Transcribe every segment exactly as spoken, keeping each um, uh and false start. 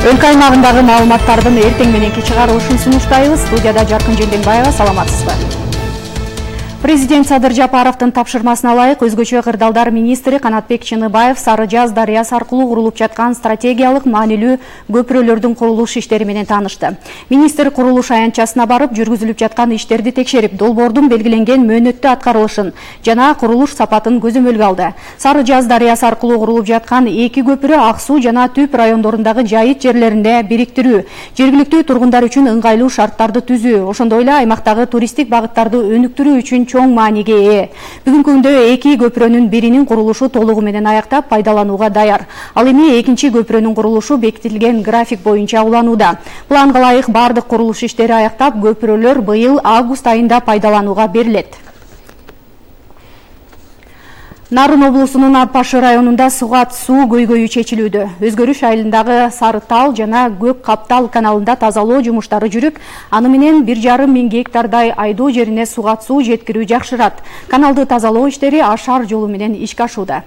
Өлкө аймагындагы маалыматтардын эртең мененки чыгарылышын сунуштайбыз. Студияда Жаркын Женденбаева, саламатсызбы? Президент Садыр Жапаровдун тапшырмасына ылайык өзгөчө кырдаалдар министри Канатбек Чыныбаев Сары Жаз дарыясы аркылуу курулуп жаткан стратегиялык маанилүү көпүрөлөрдүн курулуш иштери менен таанышты. Министр курулуш аянтчасына барып, жүргүзүлүп жаткан иштерди текшерип, долбоордун белгиленген мөөнөттө аткарылышын жана курулуш сапатын көзөмөлгө алды. Сары Жаз дарыясы аркылуу курулуп жаткан эки көпүрө Ак Суу жана Түп райондорундагы жайыт жерлеринде бириктирүү, жергиликтүү тургундар үчүн ыңгайлуу шарттарды түзүү, ошондой эле аймактагы туристтик багыттарды өнүктүрүү үчүн чоң мааниге ээ. Бүгүнкү күндө эки көпүрөнүн биринин курулушу толугу менен аяктап пайдаланууга даяр. Ал эми экинчи көпүрөнүн курулушу бекитилген график боюнча уланууда. Планга ылайык бардык курулуш иштери аяктап, көпүрөлөр быйыл август айында пайдаланууга берилет. Нарын облусунун Арпашы районунда Сугат суу көйгөйү чечилүүдө. Өзгөрүш айылындагы Сары Тал жана Көк Каптал каналында тазалоо жумуштары жүрүп, аны менен бир жарым миң гектардай айдоо жерине сугат суу жеткирүү жакшырат. Каналды тазалоо иштери Ашар жолу менен ишке ашууда.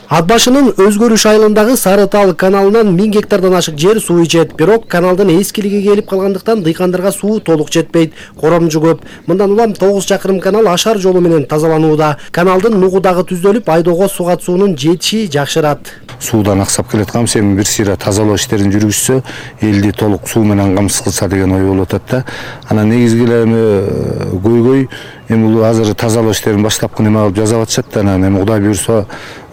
Атбашынын Өзгөрүш айылындагы Сары Тал каналынан миң гектардан ашык жер суу ичет. Бирок каналдын эскилиги келип калгандыктан дыйкандарга суу толук жетпейт. Коромжу көп. Мындан улам тогуз чакырым канал Ашар жолу менен тазаланууда. Каналдын нугу дагы түзөлүп, айдоого сугат суунун жетиши жакшырат. Суудан аксап келаткан эми бир сыйра тазалоо иштерин жүргүзсө, элди толук суу менен камсыз кылса деген ой болуп атат да. Анан негизги эле эми көйгөй эми бул азыр тазалоо иштерин баштапкы неме кылып жасап атышат да, анан эми Кудай буйрса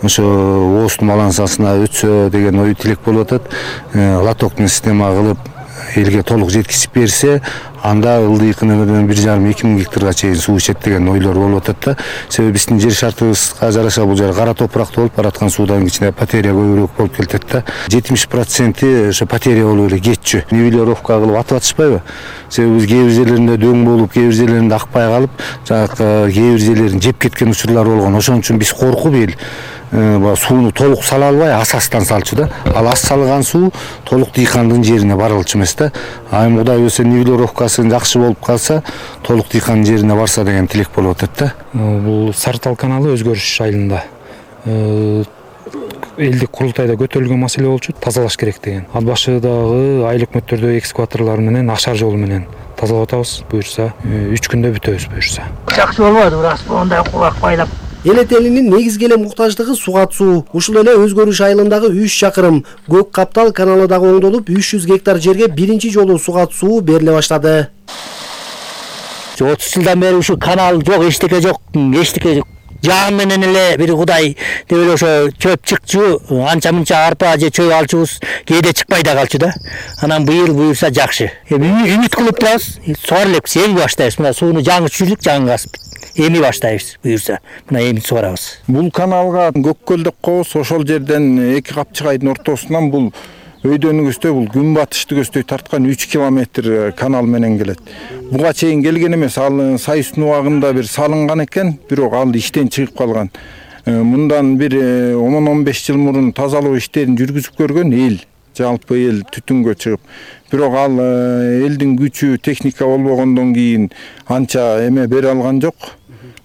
ошо ооздун балансасына өтсө деген ой тилек болуп атат. Лотоктун система кылып элге толук жеткизип берсе, анда ылдыйкынан бир жарым эки миң гектарга чейин суу ичет деген ойлор болуп атат да. Себеби биздин жер шартыбызга жараша бул жер кара топуракта болуп бараткан суудан кичине потеря көбүрөөк болуп келет да. жетимиш проценти ошо потеря болуп эле кетчү. Нивелировка кылып атып атышпайбы? Себеби биз кээ бир жерлеринде дөң болуп, кээ бир жерлеринде акпай калып, жанагы кээ бир жерлерин жеп кеткен учурлар болгон. Ошон үчүн биз коркуп эл сууну толук сала албай асастан салчу да. Ал ас салган суу толук дыйкандын жерине барылчу эмес да. А эми Кудай буйрса нивелировкасы жакшы болуп калса, толук дыйкандын жерине барса деген тилек болуп атат да. Бул Сары Тал каналы Өзгөрүш айылында элдик курултайда көтөрүлгөн маселе болчу, тазалаш керек деген. Атбашыдагы айыл өкмөттөрдө экскаваторлор менен Ашар жолу менен тазалап атабыз, буйрса үч күндө бүтөбүз буйрса. Жакшы болбойт, рас мондай кулак байлап. Эл этелинин негизги эле муктаждыгы сугат суу. Ушул эле Өзгөрүш айылындагы үч чакырым Көк Каптал каналы дагы оңдолуп, үч жүз гектар жерге биринчи жолу сугат суу бериле баштады. отуз жылдан бери ушу канал жок, эчтеке жок, эчтеке жок. Жан менен эле бир Кудай деп эле ошо чөп чыкчу, анча мынча арпа же чөй алчубуз, кээде чыкпай да калчу да. Анан быйыл буюрса жакшы. Эми үмүт кылып турабыз, сугар элекпиз, эми баштайбыз. Мына сууну жаңы чүрдүк, жаңы касып. Эми баштайбыз буюрса. Мына эми сугарабыз. Бул каналга Көккөл деп коебуз, ошол жерден эки капчыгайдын ортосунан бул өйдөнүгүздөй бул күнбатыштыгүздөй тарткан үч километр канал менен келет. Буга чейин келген эмес, ал Сайыстын убагында бир салынган экен, бирок ал иштен чыгып калган. Мындан бир он он беш жыл мурун тазалоо иштерин жүргүзүп көргөн эл, жалпы эл түтүнгө чыгып. Бирок ал элдин күчү, техника болбогондон кийин анча эме бере алган жок.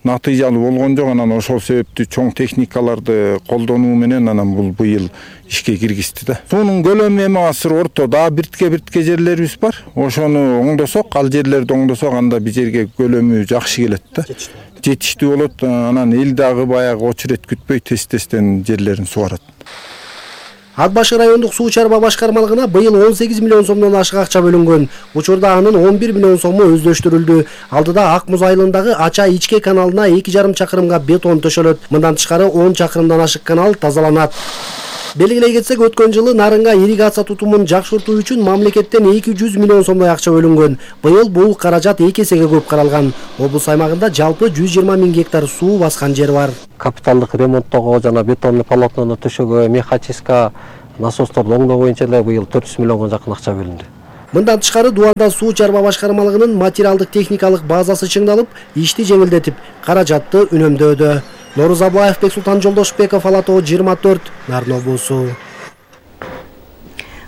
Натыйжалуу болгон жок. Анан ошол себептүү чоң техникаларды колдонуу менен анан бул быйыл ишке киргизди да. Суунун көлөмү эми азыр орто, дагы биртке-биртке жерлерибиз бар. Ошону оңдосок, ал жерлерди оңдосок, анда бир жерге көлөмү жакшы келет да. Жетиштүү болот. Анан эл дагы баягы очерет күтпөй тез-тезден жерлерин сугарат. Атбашы райондук суу чарба башкармалыгына быйыл он сегиз миллион сомдон ашык акча бөлүнгөн. Учурда анын он бир миллион сому өздөштүрүлдү. Алдыда Ак Муз айылындагы Ача ичке каналына эки жарым чакырымга бетон төшөлөт. Мындан тышкары он чакырымдан ашык канал тазаланат. Белгилей кетсек, өткөн жылы Нарынга ирригация тутумун жакшыртуу үчүн мамлекеттен эки жүз миллион сомдой акча бөлүнгөн. Быйыл бул каражат эки эсеге көп каралган. Облус аймагында жалпы жүз жыйырма миң гектар суу баскан жер бар. Капиталдык ремонттоого жана бетонный полотнону төшөгө, мехачистка, насосторду оңдоо боюнча эле быйыл төрт жүз миллионго жакын акча бөлүндү. Мындан тышкары Дуанда суу чарба башкармалыгынын материалдык техникалык базасы чыңдалып, ишти жеңилдетип, каражатты үнөмдөөдө. Норuz Аблаев, Бексултан Жолдошбеков, Ала Тоо жыйырма төрт, Нарын облусу.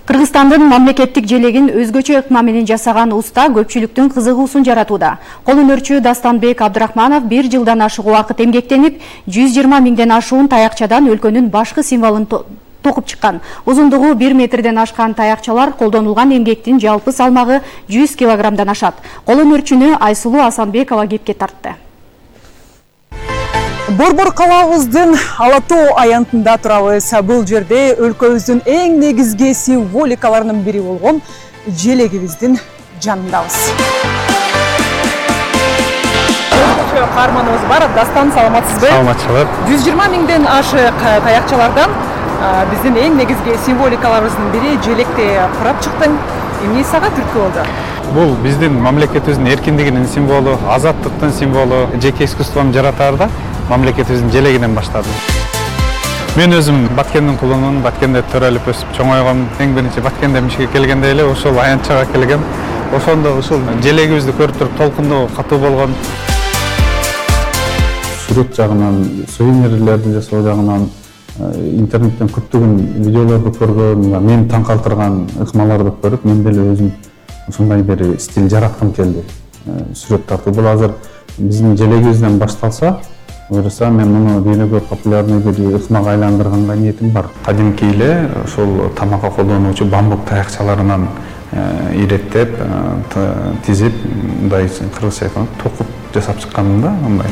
Кыргызстандын мамлекеттик желегин өзгөчө ыкма менен жасаган уста көпчүлүктүн кызыгуусун жаратууда. Кол өнөрчү Дастанбек Абдрахманов бир жылдан ашык убакыт эмгектенип, жүз жыйырма миңден ашуун таякчадан өлкөнүн башкы символун токуп чыккан. Узундугу бир метрден ашкан таякчалар колдонулган эмгектин жалпы салмагы жүз килограммдан ашат. Колөнөрчүнү Айсулуу Асанбекова кепке тартты. Борбор калабыздын Ала тоо аянтында турабыз. Бул жерде өлкөбүздүн эң негизги символикаларынын бири болгон желегибиздин жанындабыз. Өзгөчө каарманыбыз бар. Дастан, саламатсызбы? Саламатчылык. жүз жыйырма миңден ашык таякчалардан биздин эң негизги символикаларыбыздын бири желекти курап чыктың. Эмне сага түрткү болду? Бул биздин мамлекетибиздин эркиндигинин символу, азаттыктын символу. Жеке искусствомду жаратаарда мамлекетибиздин желегинен баштадым. Мен өзүм Баткендин кулумун, Баткенде төрөлүп өсүп чоңойгом. Эң биринчи Баткенде мишке келгенде эле ошол аянтчага келгем. Ошондо ушул желегибизди көрүп туруп толкундоо катуу болгон. Сүрөт жагынан, сувенирлерди жасоо жагынан, интернеттен көптөгөн видеолорду көргөн, мени таң калтырган ыкмаларды көрүп, мен деле өзүм ушундай бир стиль жараткым келди. Сүрөт тартуу бул азыр биздин желегибизден башталса, буюрса мен муну дүйнөгө популярный бир ыкмага айландырганга ниетим бар. Кадимки эле ошол тамакка колдонуучу бамбук таякчаларынан иреттеп, тизип, мындай кыргызча айтканда токуп жасап чыкканмын да, мындай.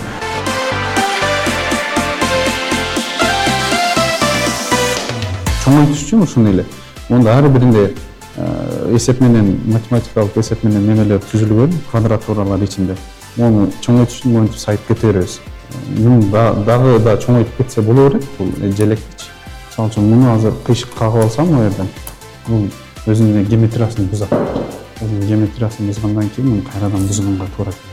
Чоңойтуш үчүн ушуну эле. Онда ар биринде эсеп менен, математикалык эсеп менен немелер түзүлгөн, квадратуралар ичинде. Муну чоңойтуш үчүн моинтип сайып кете беребиз. Муну дагы да чоңойтуп кетсе боло берет, бул желекчи. Мисалы үчүн муну азыр кыйшык кагып алсам у жерден, бул өзүнүн геометриясын бузат. Өзүнүн геометриясын бузгандан кийин муну кайрадан бузганга туура келет.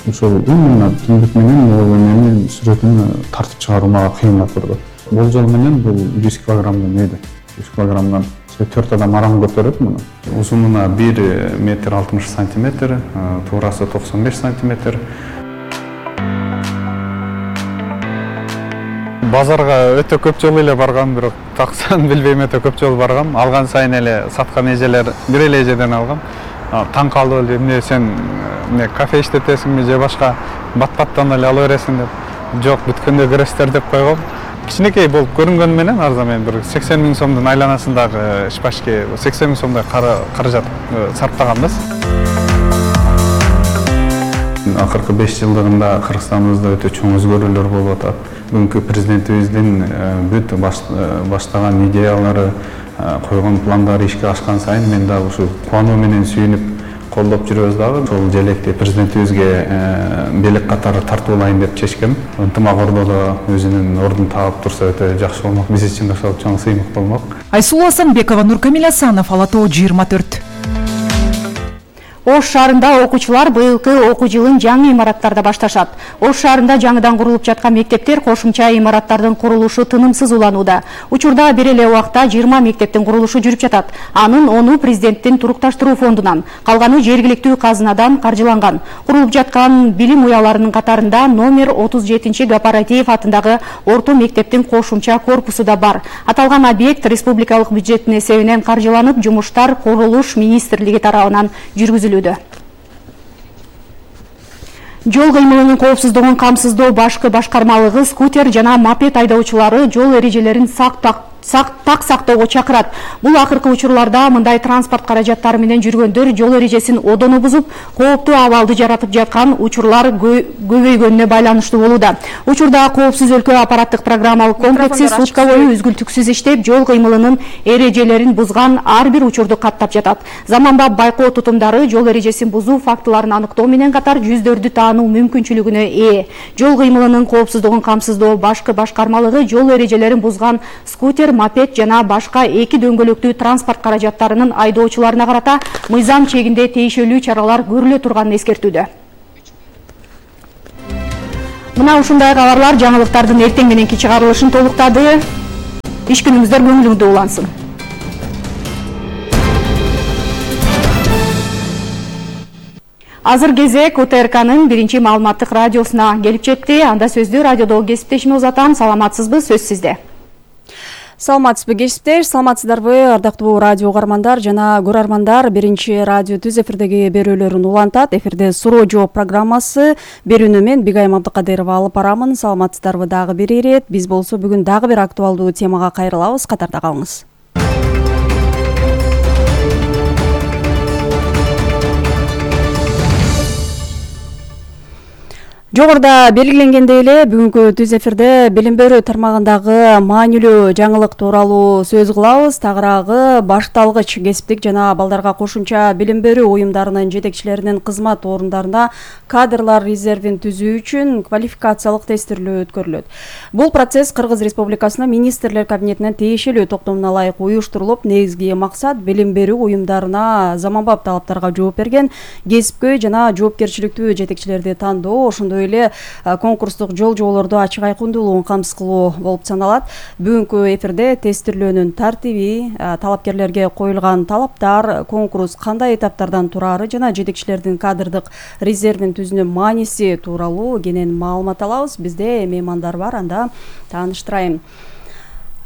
Ошол именно түндүк менен менен сүрөтүн тартып чыгаруу мага кыйынга турду. Болжол менен бул жүз килограммдан өйдө. жүз килограммдан төрт адам арам көтөрөт муну. Узунуна бир метр алтымыш сантиметр, туурасы токсон беш сантиметр. Базарга өтө көп жолу эле баргам, бирок таксан билбейм, өтө көп жолу баргам. Алган сайын эле саткан эжелер бир эле эжеден алгам. Таң калды эле, эмне сен эмне кафе иштетесиңби же башка бат-баттан эле ала бересиң деп. Жок, бүткөндө көрөсүздөр деп койгом. Кичинекей болуп көрүнгөнү менен арзан мен бир сексен миң сомдун айланасындагы ишбашке сексен миң сомдой каражат сарптаганбыз. Акыркы беш жылдыгында Кыргызстаныбызда өтө чоң өзгөрүүлөр болуп атат. Бүгүнкү президентибиздин бүт баштаган идеялары, койгон пландары ишке ашкан сайын мен дагы ушу кубануу менен сүйүнүп колдоп жүрөбүз дагы. Ошол желекти президентибизге белек катары тартуулайын деп чечкем. Ынтымак ордодо өзүнүн ордун таап турса өтө жакшы болмок. Биз үчүн ошол чоң сыймык болмок. Айсулуу Асанбекова, Нуркамил Асанов, Ала тоо жыйырма төрт. Ош шаарында окуучулар быйылкы окуу жылын жаңы имараттарда башташат. Ош шаарында жаңыдан курулуп жаткан мектептер кошумча имараттардын курулушу тынымсыз уланууда. Учурда бир эле убакта жыйырма мектептин курулушу жүрүп жатат. Анын ону президенттин турукташтыруу фондунан, калганы жергиликтүү казынадан каржыланган. Курулуп жаткан билим уяларынын катарында номер отуз жетинчи Гапаратиев атындагы орто мектептин кошумча корпусу да бар. Аталган объект республикалык бюджеттин эсебинен каржыланып, жумуштар Курулуш министрлиги тарабынан жүргүзүлөт. Жол кыймылынын коопсуздугун камсыздоо башкы башкармалыгы скутер жана мопед айдоочулары жол эрежелерин сактак так сактоого чакырат. Бул акыркы учурларда мындай транспорт каражаттары менен жүргөндөр жол эрежесин одоно бузуп, кооптуу абалды жаратып жаткан учурлар көбөйгөнүнө байланыштуу болууда. Учурда коопсуз өлкө аппараттык программалык комплекси сутка бою үзгүлтүксүз иштеп, жол кыймылынын эрежелерин бузган ар бир учурду каттап жатат. Заманбап байкоо тутумдары жол эрежесин бузуу фактыларын аныктоо менен катар жүздөрдү таануу мүмкүнчүлүгүнө ээ. Жол кыймылынын коопсуздугун камсыздоо башкы башкармалыгы жол эрежелерин бузган скутер, мопед жана башка эки дөңгөлөктүү транспорт каражаттарынын айдоочуларына карата мыйзам чегинде тийишелүү чаралар көрүлө турганын эскертүүдө. Мына ушундай кабарлар жаңылыктардын эртең мененки чыгарылышын толуктады. Иш күнүңүздөр көңүлүңүздө улансын. Азыр кезек О Т Р К'нын биринчи маалыматтык радиосуна келип жетти. Анда сөздү радиодогу кесиптешиме узатам. Саламатсызбы, сөз сизде. Саламатсызбы кесиптеш, саламатсыздарбы ардактуу радио угармандар жана көрөрмандар. Биринчи радио түз эфирдеги берүүлөрүн улантат. Эфирде суроо жооп программасы. Берүүнү мен Бигайым Абдыкадырова алып барамын. Саламатсыздарбы дагы бир ирет. Биз болсо бүгүн дагы бир актуалдуу темага кайрылабыз. Катарда калыңыз. Жогоруда белгиленгендей эле бүгүнкү түз эфирде билим берүү тармагындагы маанилүү жаңылык тууралуу сөз кылабыз. Тагыраагы башталгыч кесиптик жана балдарга кошумча билим берүү уюмдарынын жетекчилеринин кызмат орундарына кадрлар резервин түзүү үчүн квалификациялык тестирлөө өткөрүлөт. Бул процесс Кыргыз Республикасынын министрлер кабинетинин тиешелүү токтомуна ылайык уюштурулуп, негизги максат билим берүү уюмдарына заманбап талаптарга жооп берген кесипкөй жана жоопкерчиликтүү жетекчилерди тандоо, ошондой эле конкурстук жол жоболорду ачык айкындуулугун камсыз кылуу болуп саналат. Бүгүнкү эфирде тестирлөөнүн тартиби, талапкерлерге коюлган талаптар, конкурс кандай этаптардан турары жана жетекчилердин кадрдык резервин түзүүнүн мааниси тууралуу кенен маалымат алабыз. Бизде меймандар бар, анда тааныштырайын.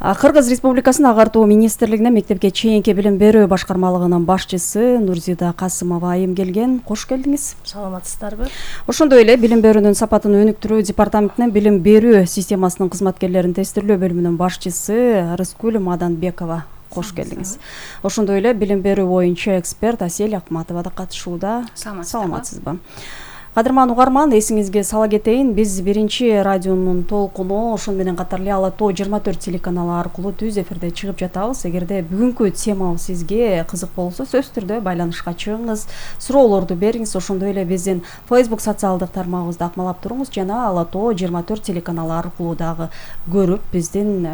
Кыргыз Республикасынын Агартуу министрлигине мектепке чейинки билим берүү башкармалыгынын башчысы Нурзида Касымова айым келген. Кош келдиңиз. Саламатсыздарбы? Ошондой эле билим берүүнүн сапатын өнүктүрүү департаментинин билим берүү системасынын кызматкерлерин тестирлөө бөлүмүнүн башчысы Рыскүл Маданбекова. Кош келдиңиз. Ошондой эле билим берүү боюнча эксперт Асель Акматова да катышууда. Саламатсызбы? Кадырман угарман, эсиңизге сала кетейин, биз биринчи радионун толкуну, ошону менен катар эле Ала Тоо жыйырма төрт телеканалы аркылуу түз эфирде чыгып жатабыз. Эгерде бүгүнкү темабыз сизге кызык болсо, сөзсүз түрдө байланышка чыгыңыз, суроолорду бериңиз. Ошондой эле биздин Facebook социалдык тармагыбызды акмалап туруңуз жана Ала Тоо жыйырма төрт телеканалы аркылуу дагы көрүп, биздин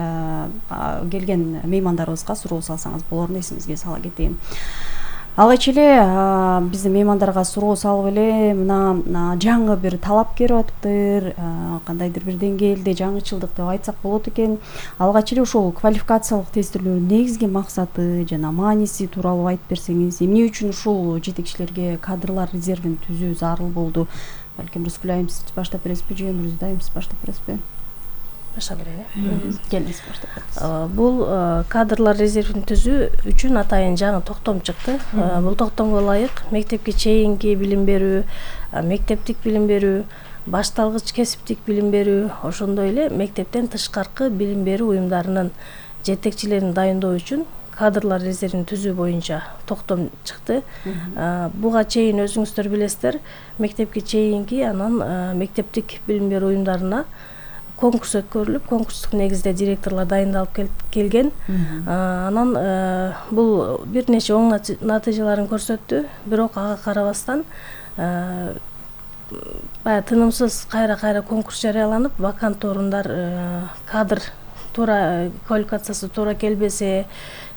келген меймандарыбызга суроо салсаңыз болорун эсиңизге сала кетейин. Алгач эле биздин меймандарга суроо салып эле мына жаңы бир талап келип атыптыр, кандайдыр бир деңгээлде жаңычылдык деп айтсак болот экен. Алгач эле ошол квалификациялык тестирлөөнүн негизги максаты жана мааниси тууралуу айтып берсеңиз, эмне үчүн ушул жетекчилерге кадрлар резервин түзүү зарыл болду? Балким Рыскүл айым сиз баштап бересизби же Нурзида айым сиз баштап бересизби? Баштап берейин. Келиңиз, баштап бериңиз. Бул кадрлар резервин түзүү үчүн атайын жаңы токтом чыкты. Бул токтомго ылайык мектепке чейинки билим берүү, мектептик билим берүү, башталгыч кесиптик билим берүү, ошондой эле мектептен тышкаркы билим берүү уюмдарынын жетекчилерин дайындоо үчүн кадрлар резервин түзүү боюнча токтом чыкты. Буга чейин өзүңүздөр билесиздер, мектепке чейинки анан мектептик билим берүү уюмдарына конкурс өткөрүлүп, конкурстук негизде директорлор дайындалып келген. Анан бул бир нече оң натыйжаларын көрсөттү, бирок ага карабастан баягы тынымсыз кайра-кайра конкурс жарыяланып, вакант орундар, кадр туура квалификациясы туура келбесе,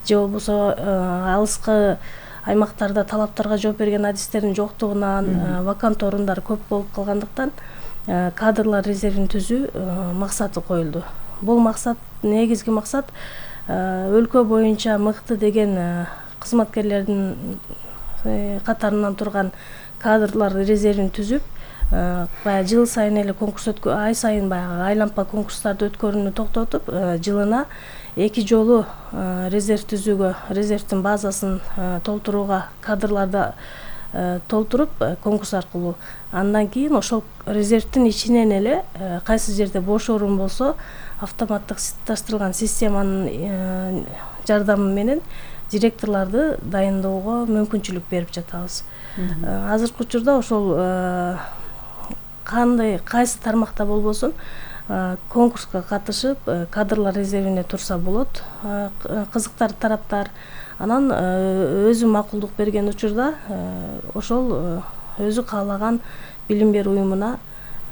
же болбосо алыскы аймактарда талаптарга жооп берген адистердин жоктугунан вакант орундар көп болуп калгандыктан кадрлар резервин түзүү максаты коюлду. Бул максат, негизги максат өлкө боюнча мыкты деген кызматкерлердин катарынан турган кадрлар резервин түзүп, баягы жыл сайын эле конкурс өткө, ай сайын баягы айлампа конкурстарды өткөрүүнү токтотуп, жылына эки жолу резерв түзүүгө, резервдин базасын толтурууга кадрларды толтуруп конкурс аркылуу, андан кийин ошол резервдин ичинен эле кайсы жерде бош орун болсо автоматтыкташтырылган системанын жардамы менен директорлорду дайындоого мүмкүнчүлүк берип жатабыз. Азыркы учурда ошол кандай кайсы тармакта болбосун конкурска катышып кадрлар резервине турса болот, кызыктар тараптар. Анан өзү макулдук берген учурда ошол өзү каалаган билим берүү уюмуна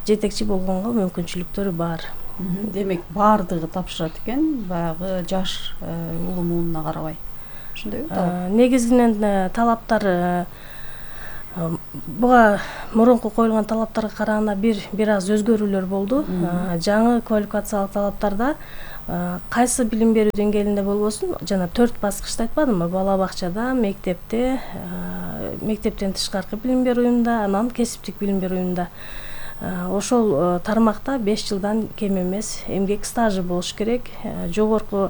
жетекчи болгонго мүмкүнчүлүктөрү бар. Демек баардыгы тапшырат экен, баягы жаш улуу муунуна карабай. Ошондойбу? Негизинен талаптар буга мурунку коюлган талаптарга караганда бир бир аз өзгөрүүлөр болду. Жаңы квалификациялык талаптарда кайсы билим берүү деңгээлинде болбосун, жана төрт баскычты айтпадымбы? Бала бакчада, мектепте, мектептен тышкаркы билим берүү уюмунда, анан кесиптик билим берүү уюмунда. Ошол тармакта беш жылдан кем эмес эмгек стажы болуш керек. Жогорку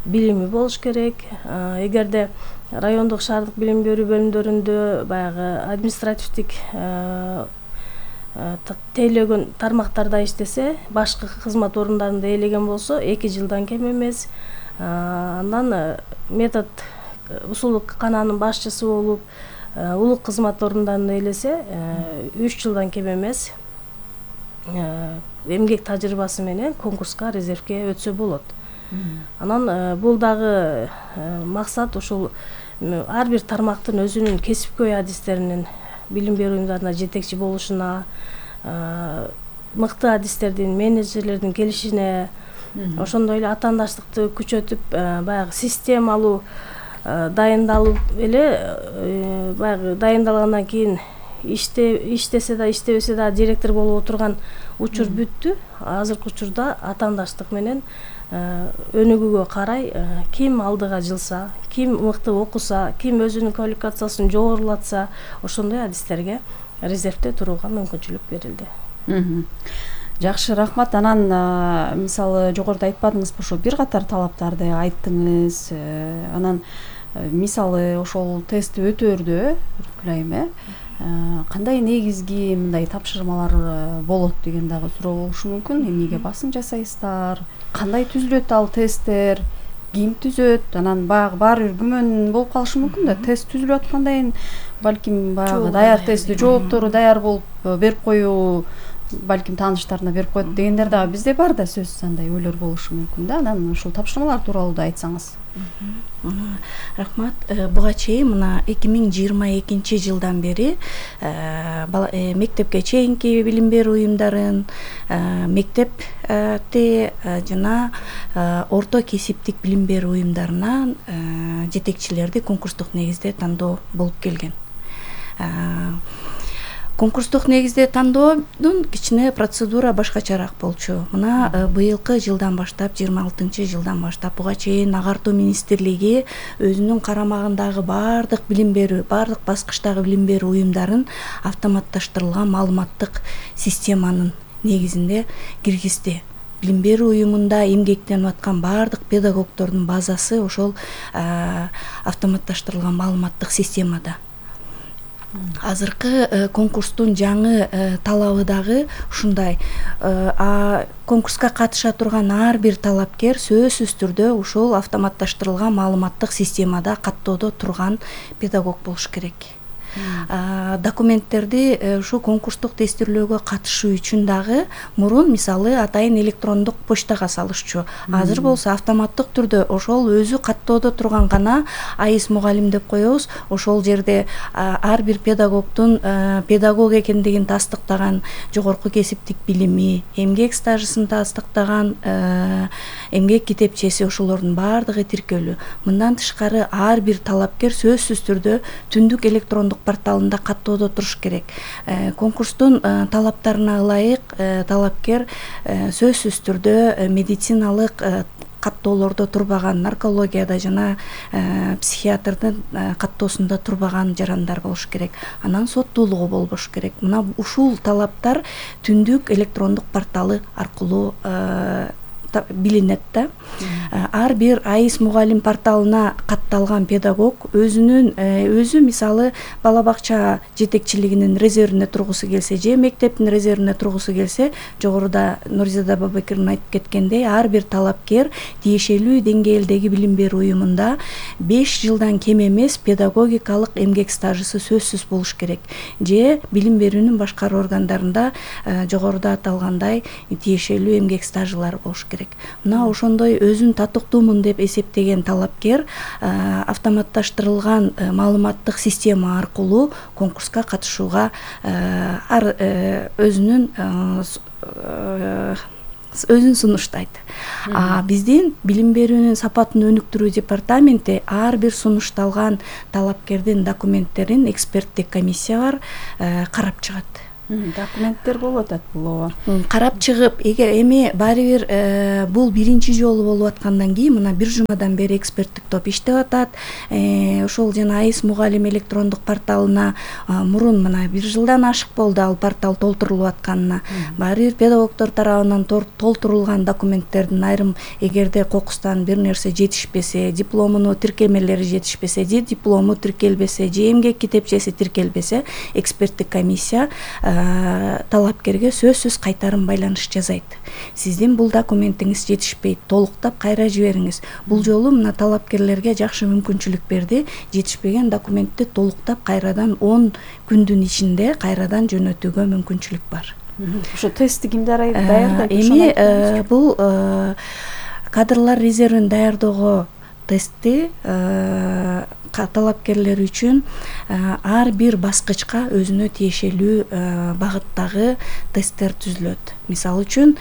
билими болуш керек. Эгерде райондук шаардык билим берүү бөлүмдөрүндө баягы административдик тейлөгөн тармактарда иштесе, башкы кызмат орундарында ээлеген болсо эки жылдан кем эмес. Андан метод усулдук канаанын башчысы болуп, улук кызмат орундарында ээлесе, үч жылдан кем эмес эмгек тажрыйбасы менен конкурска, резервке өтсө болот. Анан бул дагы максат ушул ар бир тармактын өзүнүн кесипкөй адистеринин билим берүү уюмдарына жетекчи болушуна, мыкты адистердин, менеджерлердин келишине, ошондой эле атаандаштыкты күчөтүп, баягы системалуу дайындалып эле, баягы дайындалгандан кийин иштесе да, иштебесе да директор болуп отурган учур бүттү. Азыркы учурда атаандаштык менен өнүгүүгө карай ким алдыга жылса, ким мыкты окуса, ким өзүнүн квалификациясын жогорулатса, ошондой адистерге резервде турууга мүмкүнчүлүк берилди. Жакшы, рахмат. Анан мисалы жогоруда айтпадыңызбы, ошо бир катар талаптарды айттыңыз. Анан мисалы ошол тестти өтөөрдө өлайым э кандай негизги мындай тапшырмалар болот деген дагы суроо болушу мүмкүн. Эмнеге басым жасайсыздар? Кандай түзүлөт ал тесттер? Ким түзөт? Анан баягы баары бир күмөн болуп калышы мүмкүн да. Тест түзүлүп аткандан кийин балким баягы даяр тестти жооптору даяр болуп берип коюу, балким тааныштарына берип коет дегендер дагы бизде бар да, сөзсүз андай ойлор болушу мүмкүн да. Анан ушул тапшырмалар тууралуу да айтсаңыз. Рахмат. Буга чейин мына эки миң жыйырма экинчи жылдан бери мектепке чейинки билим берүү уюмдарын, мектепте жана орто кесиптик билим берүү уюмдарына жетекчилерди конкурстук негизде тандоо болуп келген. Конкурстук негизде тандоодун кичине процедура башкачараак болчу. Мына быйылкы жылдан баштап, жыйырма алтынчы жылдан баштап буга чейин Агартуу министрлиги өзүнүн карамагындагы баардык билим берүү, баардык баскычтагы билим берүү уюмдарын автоматташтырылган маалыматтык системанын негизинде киргизди. Билим берүү уюмунда эмгектенип аткан баардык педагогдордун базасы ошол автоматташтырылган маалыматтык системада. Азыркы конкурстун жаңы талабы дагы ушундай. Конкурска катыша турган ар бир талапкер сөзсүз түрдө ушул автоматташтырылган маалыматтык системада каттоодо турган педагог болуш керек. Документтерди ушу конкурстук тестирлөөгө катышуу үчүн дагы мурун мисалы атайын электрондук почтага салышчу. Азыр болсо автоматтык түрдө ошол өзү каттоодо турган гана АИС мугалим деп коебуз. Ошол жерде ар бир педагогдун педагог экендигин тастыктаган жогорку кесиптик билими, эмгек стажысын тастыктаган эмгек китепчеси, ошолордун баардыгы тиркелүү. Мындан тышкары ар бир талапкер сөзсүз түрдө түндүк электрондук порталында каттоодо туруш керек. Конкурстун талаптарына ылайык талапкер сөзсүз түрдө медициналык каттоолордо турбаган, наркологияда жана психиатрдын каттоосунда турбаган жарандар болуш керек. Анан соттуулугу болбош керек. Мына ушул талаптар түндүк электрондук порталы аркылуу билинет да. Ар бир АИС мугалим порталына катталган педагог өзүнүн өзү мисалы бала бакча жетекчилигинин резервине тургусу келсе же мектептин резервине тургусу келсе, жогоруда Нурзада Бабакирдин айтып кеткендей, ар бир талапкер тиешелүү деңгээлдеги билим берүү уюмунда беш жылдан кем эмес педагогикалык эмгек стажысы сөзсүз болуш керек. Же билим берүүнүн башкаруу органдарында жогоруда аталгандай тиешелүү эмгек стажылары болуш керек. Мына ошондой өзүн татыктуумун деп эсептеген талапкер автоматташтырылган маалыматтык система аркылуу конкурска катышууга ар өзүнүн өзүн сунуштайт. Биздин билим берүүнүн сапатын өнүктүрүү департаменти ар бир сунушталган талапкердин документтерин эксперттик комиссиялар карап чыгат. Документтер болуп атат бул ооба. Карап чыгып, эгер эми баары бир бул биринчи жолу болуп аткандан кийин мына бир жумадан бери эксперттик топ иштеп атат. Ошол жана АИС мугалим электрондук порталына мурун мына бир жылдан ашык болду ал портал толтурулуп атканына. Баары бир педагогдор тарабынан толтурулган документтердин айрым эгерде кокустан бир нерсе жетишпесе, дипломунун тиркемелери жетишпесе, же диплому тиркелбесе, же эмгек китепчеси тиркелбесе, эксперттик комиссия талапкерге сөзсүз кайтарым байланыш жазайт. Сиздин бул документиңиз жетишпейт, толуктап кайра жибериңиз. Бул жолу мына талапкерлерге жакшы мүмкүнчүлүк берди. Жетишпеген документти толуктап кайрадан он күндүн ичинде кайрадан жөнөтүүгө мүмкүнчүлүк бар. Ошо тестти кимдер даярдайт? Эми бул кадрлар резервин даярдоого тестти талапкерлер үчүн ар бир баскычка өзүнө тиешелүү багыттагы тесттер түзүлөт. Мисалы үчүн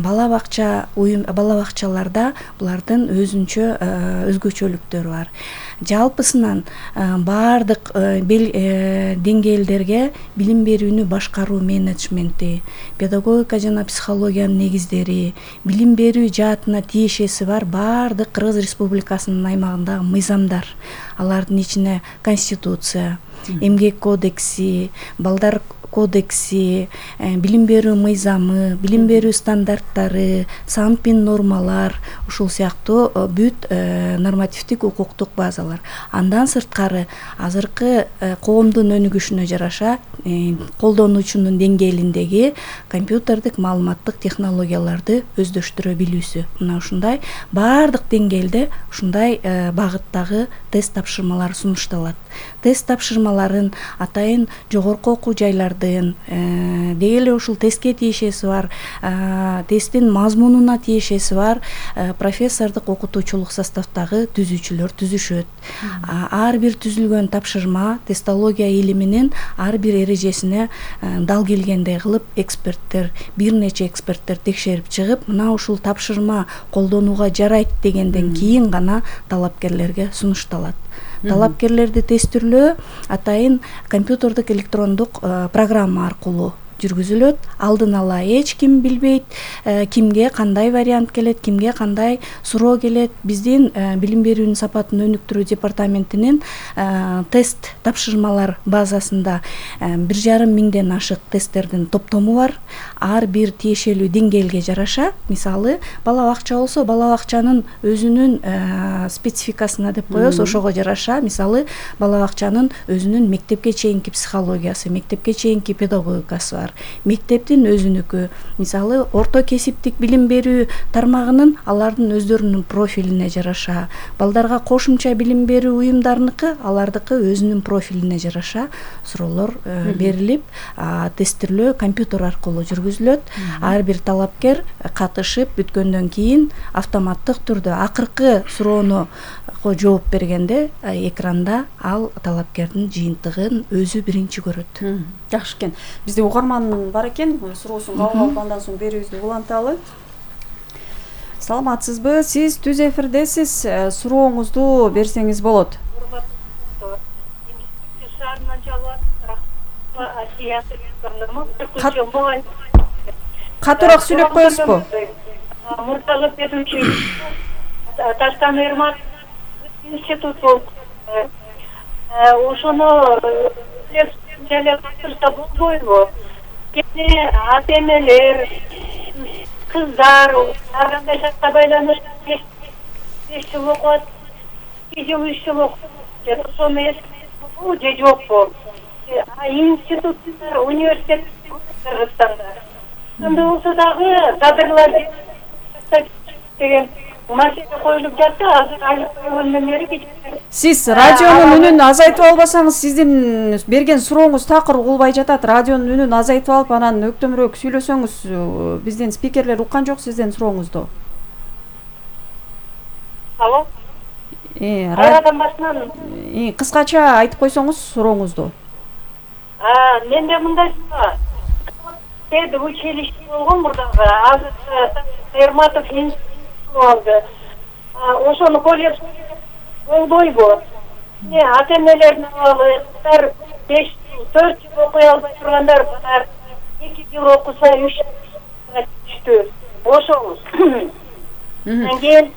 бала бакча уюм бала бакчаларда булардын өзүнчө өзгөчөлүктөрү бар. Жалпысынан баардык деңгээлдерге билим берүүнү башкаруу менеджменти, педагогика жана психологиянын негиздери, билим берүү жаатына тиешеси бар баардык Кыргыз Республикасынын аймагындагы мыйзамдар, алардын ичине Конституция, эмгек кодекси, балдар кодекси, билим берүү мыйзамы, билим берүү стандарттары, санпин нормалар, ушул сыяктуу бүт нормативдик укуктук базалар. Андан сырткары азыркы коомдун өнүгүшүнө жараша колдонуучунун деңгээлиндеги компьютердик маалыматтык технологияларды өздөштүрө билүүсү. Мына ушундай баардык деңгээлде ушундай багыттагы тест тапшырмалар сунушталат. Тест тапшырмаларын атайын жогорку окуу жайлардын деги эле ушул тестке тиешеси бар, тесттин мазмунуна тиешеси бар профессордук окутуучулук составдагы түзүүчүлөр түзүшөт. Ар бир түзүлгөн тапшырма тестология илиминин ар бир эрежесине дал келгендей кылып эксперттер, бир нече эксперттер текшерип чыгып, мына ушул тапшырма колдонууга жарайт дегенден кийин гана талапкерлерге сунушталат. Талапкерлерди тестирлөө атайын компьютердик электрондук программа аркылуу жүргүзүлөт. Алдын ала эч ким билбейт, кимге кандай вариант келет, кимге кандай суроо келет. Биздин билим берүүнүн сапатын өнүктүрүү департаментинин тест тапшырмалар базасында бир жарым миңден ашык тесттердин топтому бар. Ар бир тиешелүү деңгээлге жараша, мисалы, бала бакча болсо, бала бакчанын өзүнүн спецификасына деп коебуз, ошого жараша, мисалы, бала бакчанын өзүнүн мектепке чейинки психологиясы, мектепке чейинки педагогикасы бар. Мектептин өзүнүкү, мисалы, орто кесиптик билим берүү тармагынын алардын өздөрүнүн профилине жараша, балдарга кошумча билим берүү уюмдарыныкы, алардыкы өзүнүн профилине жараша суроолор берилип, тестирлөө компьютер аркылуу жүргүзүлөт. Ар бир талапкер катышып бүткөндөн кийин автоматтык түрдө акыркы суроону жооп бергенде экранда ал талапкердин жыйынтыгын өзү биринчи көрөт. Жакшы экен. Бизде угарман бар экен, суроосун кабыл алып андан соң берүүбүздү уланталы. Саламатсызбы? Сиз түз эфирдесиз. Сурооңузду берсеңиз болот. Катуураак сүйлөп коесузбу? Муртаза Петрович Таштан Эрмат институт болуп, ошону жале катырса болбойбу? Кээде ата-энелер, кыздар ар кандай шартка байланыштуу беш жыл окуат, эки жыл, үч жыл окуп, ошону эсептейбу же жокпу? Институттар, университет Кыргызстанда. Ошондой болсо дагы кадрлар деген маселе коюлуп жатты. Азыр айлык койгондон бери сиз радионун үнүн азайтып албасаңыз, сиздин берген сурооңуз такыр угулбай жатат. Радионун үнүн азайтып алып, анан өктөмүрөөк сүйлөсөңүз, биздин спикерлер уккан жок сиздин сурооңузду. Алло. Э, радиодон башынан кыскача айтып койсоңуз сурооңузду. А, менде мындай пед училище болгон мурдагы, азыр Эрматов институт алды. Ошону колледж болбойбу? Ата-энелердин абалы, кыздар беш жыл, төрт жыл окуй албай тургандар бар. эки жыл окуса үч жылга түштү ошол анан кийин